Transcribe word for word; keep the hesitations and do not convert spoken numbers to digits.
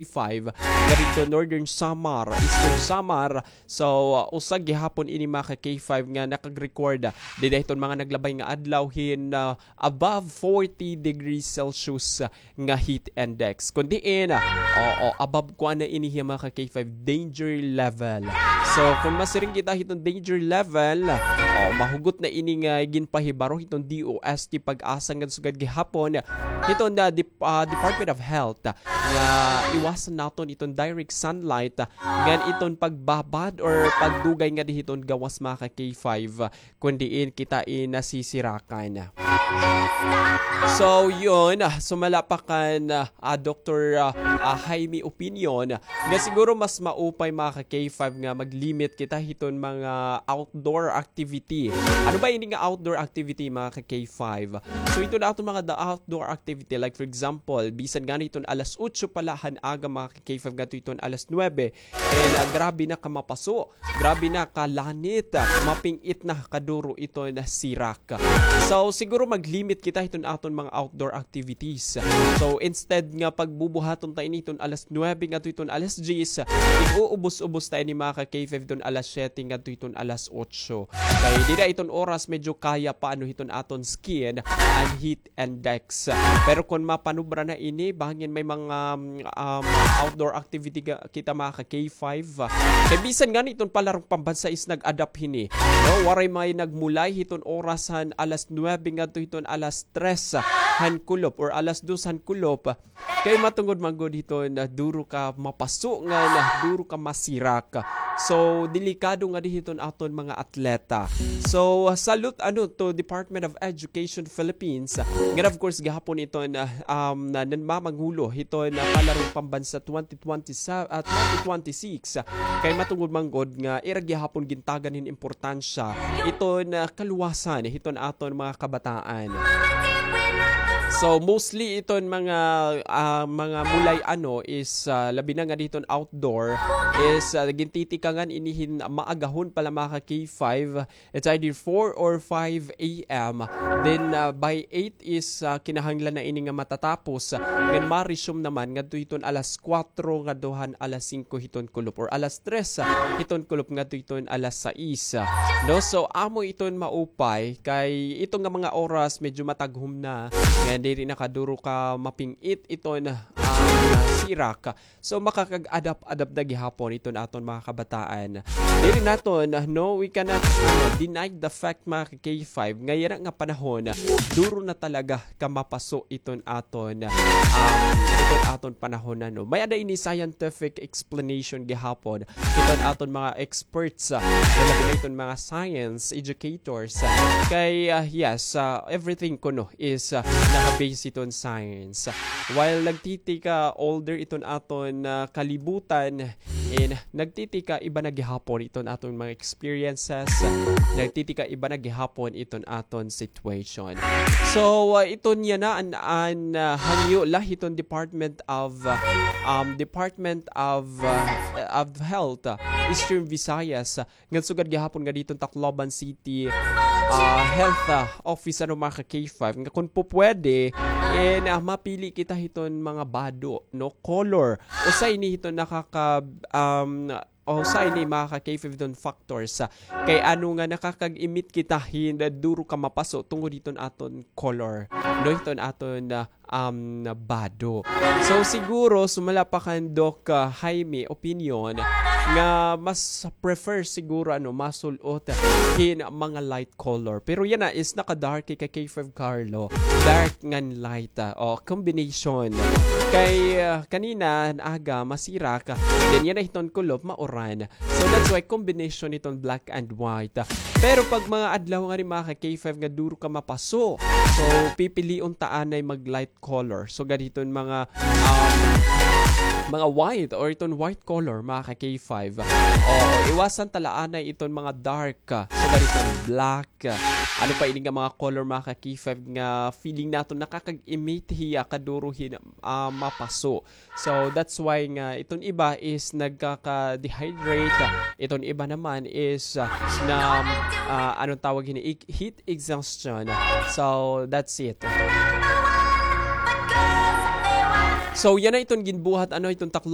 five, nga didto Northern Samar, Eastern Samar. So, uh, usa gihapon ini, mga ka-K five, nga nakag-record, uh, dida hiton mga naglabay nga adlaw hin, uh, above forty degrees Celsius, uh, nga heat index. Kun diin, uh, oo, above kuan na ini hiya, mga ka-K five, danger level. So, kun masiring kita hiton danger level, uh, oh, mahugot na ini nga ginpahibaro hiton D O S T PAGASA ngan sugad gihapon hiton, uh, dep-, uh, Department of Health, uh, nga iwasan naton iton direct sunlight, ah, ngan iton pagbabad or pagdugay ngadi hiton gawas, mga ka-K five, ah, kun diin kita in nasisirakan. So, yun, ah, sumala pa kan, ah, ah, Doktor, ah, ah, Jaime opinion, nga siguro mas maupay, mga ka-K five, nga mag-limit kita hiton mga outdoor activity. Ano ba ini nga outdoor activity, mga ka-K five? So, hiton aton mga da-, outdoor activity, like for example, bisan ngani hiton alas otso pa la han aga, mga ka-K five, ngadto hiton alas nuwebe, and, ah, grabe na kamapaso, grabe na kalanit, ah, maping-it na kaduro iton sirak. So, siguro mag-limit kita hiton aton mga outdoor activities. So, instead nga pagbubuhaton ta ini hiton alas nuwebe ngadto hiton alas diyes, ig-uubos-ubos ta ini, mga ka-K five, hiton alas siyete ngadto hiton alas otso. Kay dida iton oras medyo kaya pa ano hiton aton skin an heat index. Pero kun mapanubra na ini, bangin may mga, um, outdoor activity ga-, kita, mga ka-K five. Kay bisan ngani iton Palarong Pambansa is nag-adapt hini. No, waray may nagmulay hiton oras han alas nuwebe ngadto hiton alas tres han kulop or alas dos han kulop. Kay matungod man gud hiton duro ka mapaso ngan duro ka masirak. So, delikado ngadi hiton aton mga atleta. So, salute ano to Department of Education Philippines. Ngan of course, gihapon iton, ah, um, na, nanmamangulo hiton, ah, Palarong Pambansa twenty twenty-seven, ah, twenty twenty-six. Kay matungod man gud nga ira gihapon gintagan hin importansya iton, ah, kaluwasan hiton aton mga kabataan. So, mostly iton mga, ah, mga mulay ano is, ah, labi na ngadi hiton outdoor is, ah, gintitikangan ini hin maagahon pa la, mga ka-K five. It's either four or five A M. Then, ah, by eight is, ah, kinahanglan na ini nga matatapos. Then ma-resume naman ngadto hiton alas kwatro ngadto han alas singko hiton kulop or alas tres, ah, hiton kulop ngadto hiton alas sais. No, so amo iton maupay kay ito nga mga oras medyo mataghom na. Kay diri na kaduro ka maping-it iton, ah, sirak. So, makakag-adapt-adapt na gihapon iton aton mga kabataan. Diri naton, no, we cannot, ano, deny the fact, mga ka-K five, nga yana nga panahon, duro na talaga kamapaso iton aton, um, iton aton panahon na, no. May ada ini scientific explanation gihapon iton aton mga experts, ah, labi na iton mga science educators, ah, kay, ah, yes, ah, everything kuno is, ah, naka-base iton science. While nagtitika older iton aton, ah, kalibutan, and nagtitika iba na gihapon iton aton mga experiences, nagtitika iba na gihapon iton aton situation. So, ah, iton yana an, an, ah, hangyo la hiton Department of, ah, um, Department of, ah, of Health, ah, Eastern Visayas, ah, ngan sugad gihapon ngadi hiton Tacloban City, ah, Health, ah, Office, ano, mga ka-K five, nga kun pupwede, eh, na mapili kita hiton mga bado, no, color. Usa ini hiton nakaka-, um, usa ini, mga ka-K five, hiton factors, ah, kay ano nga nakakag-emit kita hin duro ka mapaso tungod hiton aton color, no, hiton aton, ah, um, bado. So, siguro, sumala pa kan Doc, ah, Jaime opinion, nga mas prefer siguro, ano, masul-ot hin mga light color. Pero yana is naka-dark kay ka-K five Carlo. Dark ngan light, ah, o, combination. Kay, ah, kanina, aga, masirak, then yana hiton kulop, mauran. So, that's why combination hiton black and white. Pero pag mga adlaw ngani, mga ka-K five, nga duro ka mapaso, so, pipilion ta anay mag-light color. So, gad hiton mga, um, mga white or iton white color, mga ka-K five. O, iwasan ta la anay iton mga dark. So, gad hiton black. Ano pa ini nga mga color, mga ka-K five, nga feeling naton nakakag-emit hiya kaduro hin, ah, mapaso. So, that's why nga iton iba is nagkaka-dehydrate, iton iba naman is, ah, na, ah, anong tawag hini? Ig-, heat exhaustion. So, that's it. So, yana iton ginbuhat, ano, iton taklo